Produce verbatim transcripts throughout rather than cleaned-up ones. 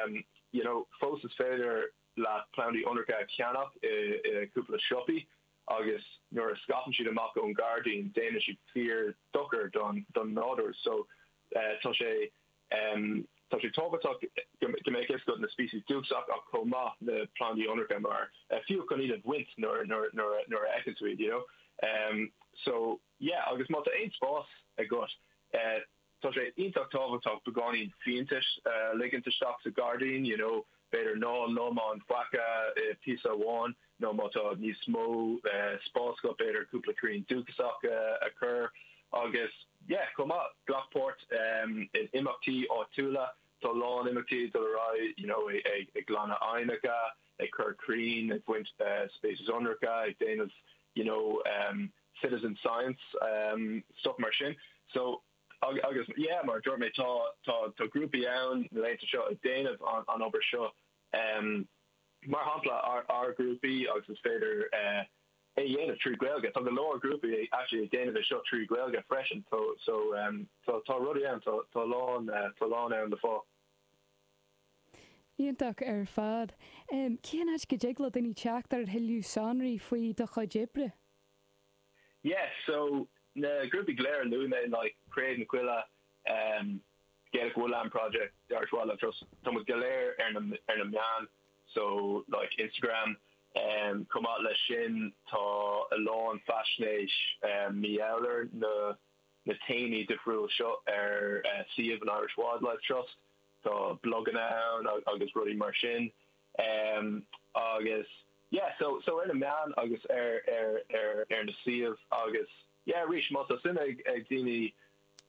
um, you know, fós is féidir le plandaí ionracha a cheannach i, i cúpla siopaí agus nuair a scaipeann siad amach ón gairdín déanann siad fíor dochar don don nádúr so uh, tá sé um, tá sé tábhachtach go mbeadh fhios agat na species dúchasach ach chomh maith na plandaí ionracha mar uh, fiú chun iad a bhaint nuair nuair nuair nuair a fheiceann tú iad, you know um, so yeah agus má tá aon spás agat uh, tá sé iontach tábhachtach beagáinín fiántais uh, ligint isteach sa gairdín you know b'fhéidir ná lomán faca uh, píosa amháin nó má tá níos mó uh, spás go b'fhéidir cúpla crann dúchasach uh, a chur agus yeah chomh maith glac páirt um, in imeachtaí áitiúla tá lán imeachtaí dul ar aghaidh you know ag ag ag glanadh aibhneacha ag cur crainn ag baint uh, species ionracha ag déanamh you know um, citizen science um, stuff mar sin so agus yeah mar dúirt mé tá tá tá grúpaí ann na laethanta seo ag déanamh an, an obair seo um, mar shampla ár, ár grúpaí agus is féidir uh, é dhéanamh trí Gaeilge tá go leor grúpaí actually ag déanamh é seo trí Gaeilge freisin so so um, tá tá rudaí ann tá tá lán uh, tá lán ann le fáil. Iontach ar fad. Um, Cén áit go dtig le daoine teacht ar thuilleadh sonraí faoi do chuid oibre? Yeah, so na grúpaí go léir luaigh mé like Craobh na Coille um, Gaelic Woodland Project, the Irish Wildlife Trust, tá muid go léir ar na ar na meáin, so like Instagram, um, chomh maith leis sin tá a lán faisnéis um, mar na na téamaí difriúil seo ar uh, suíomh an Irish Wildlife Trust, tá bloganna ann agus rudaí mar sin. Um, agus yeah, so so ar na meáin agus ar ar ar ar na suíomh agus yeah, arís má tá suim ag ag daoine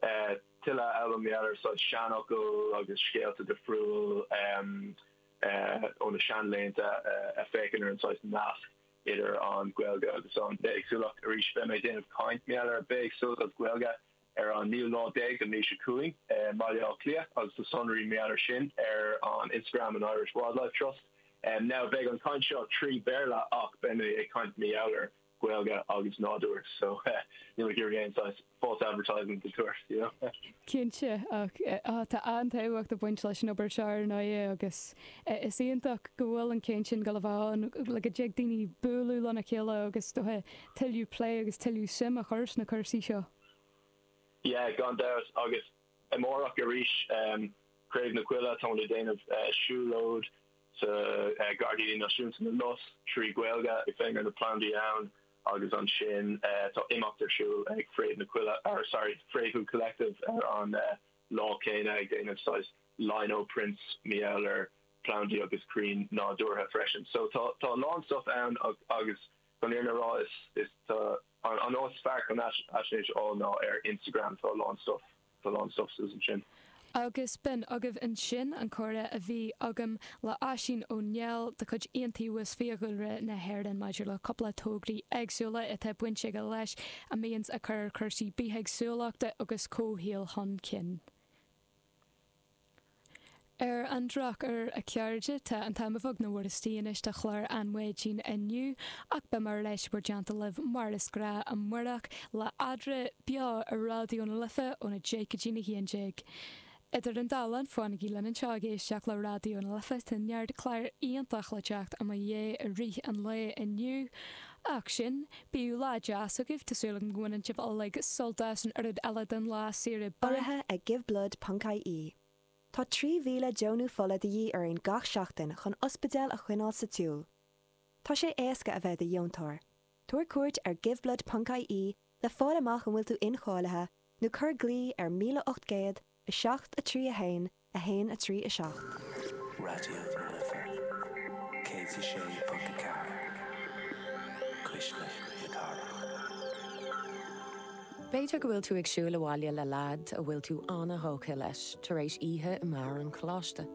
uh, tuilleadh a fhoghlaim ar so seanfhocail agus scéalta difriúil um, uh, ó na seanlaethanta uh, a féachann ar an saghas nasc idir an Ghaeilge agus an bithéagsúlacht arís beidh mé déanamh caint mar ar bithéagsúlacht agus Gaeilge ar an naoú lá déag den mhí seo chugainn uh, Baile Átha Cliath agus tá sonraí mar sin ar an Instagram an Irish Wildlife Trust. Um, now beidh an caint seo trí Béarla ach beidh mé ag caint mar ar Gaeilge agus nádúr so uh, ní aon false advertisement tour you know? Cinnte ach tá an-tábhacht ag baint leis an obair seo ar ndóigh agus is iontach go bhfuil an chéim sin go bhfuil le go dtig daoine bualadh lena chéile agus do tuilleadh plé agus tuilleadh suim a chur sna cúrsaí seo. Yeah, gan dabht agus amárach arís um, Craobh na Coille tá le déanamh uh, siúlóid sa uh, Gairdíní Náisiúnta na Lus trí Ghaeilge ag féachaint ar na plandaí ann agus ansin uh, tá imeacht ar siúl ag Fréamh na Coille or sorry Fréamhú Collective ar an uh, lá céanna ag déanamh saghas lino prints mar ar plandaí agus crainn nádúrtha freisin. So tá tá lán stuff ann agus chun an rá is is tá an an áit is fearr chun faisnéis a fháil ná ar Instagram tá lán stuff tá lán stuff ansin. Agus b'in agaibh ansin an comhrá a bhí agam le Oisín Ó Néill de chuid Iontaobhas Fiadhúlra na hÉireann maidir le cúpla tograí éagsúla atá baint aige leis a mbíonns ag cur cúrsaí bithéagsúlachta agus comhshaoil chun cinn. Ar an drochuair a chairde tá an t-am beagnach bhur anois de chlár an Mhaidin inniu ach beidh mé ar ais bhur dteannta libh mar is gnách amárach le Adra beo ar Raidió na Life óna deich go dtí a haon déag. Idir an dá linn fanaigí linn anseo ag éisteacht le Raidió na Life tá neart clár iontach le teacht i bhur ndiaidh i rith an lae inniu. Ach sin bíodh lá deas agaibh tá súil agam go mbaineann sibh uilig sult as an oiread eile den lá saoire Urraithe ag giveblood.ie. Tá trí mhíle deonú fola de dhíth orainn gach seachtain chun ospidéil a choinneáil sa tsiúl. Tá sé éasca a bheith i do dheontóir. Tabhair cuairt ar giveblood.ie le fáil amach an bhfuil tú incháilithe nó cuir glao ar míle ocht gcéad a seacht a trí a haon a haon a trí a seacht. Raidió na Life céad a sé ponc a ceathair. Cuisle na Cathrach. B'fhéidir go bhfuil tú ag siúl abhaile le leaid a bhfuil tú an-tógtha leis tar éis oíche i mbeár an choláiste.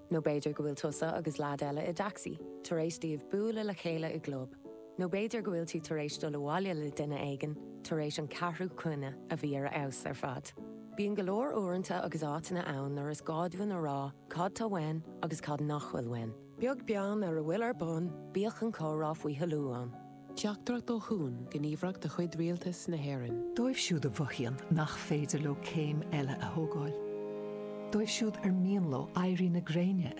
Nó b'fhéidir go bhfuil tusa agus leaid eile i dtacsaí, tar éis daoibh bualadh le chéile i gclub. Nó b'fhéidir go bhfuil tú tar éis dul abhaile le duine éigin tar éis an ceathrú coinne a bhí ar fheabhas ar fad. Bíonn go leor uaireanta agus áiteanna ann nuair is gá dúinn a rá cad tá uainn agus cad nach bhfuil uainn. Beag beann ar a bhfuil ar bun, bíodh an comhrá faoi thoiliú ann. Teachtaireacht ó Chuan gníomhaireacht de chuid Rialtas na hÉireann. Dóibh siúd a mhothaíonn nach féidir leo céim eile a thógáil. Dóibh siúd ar mian leo éirí na gréine a